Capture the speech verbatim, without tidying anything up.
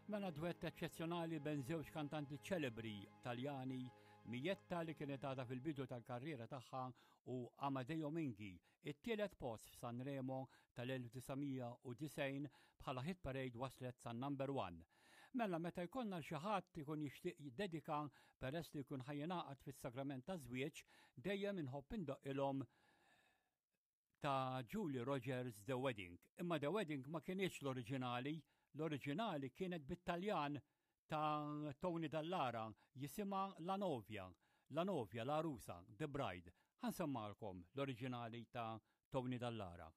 Mela dwett eċċezzjonali bejn żewġ kantanti ċelebri Taljani, Mietta li kienet għadha fil-bidu tal-karriera tagħha u Amedeo Minghi, it-tielet post f'Sanremo tal-elf disa' mija u disgħin bħala hit parade waslet sa number one. Mela meta jkollna xi ħadd ikun jixtieq jiddedika peress li jkun ħa jingħaqad fis-sagrament ta' żwieġ, dejjem inħobb indoqqilhom ta' Julie Rogers, The Wedding. Imma The Wedding ma kienx l-oriġinali, l-oriġinali kienet bit-Taljan ta' Tony Dallara, jisimha La Novia, La Novia, l-Għarusa, The Bride. Ħa nsemmagħlkom l-oriġinali ta' Tony Dallara.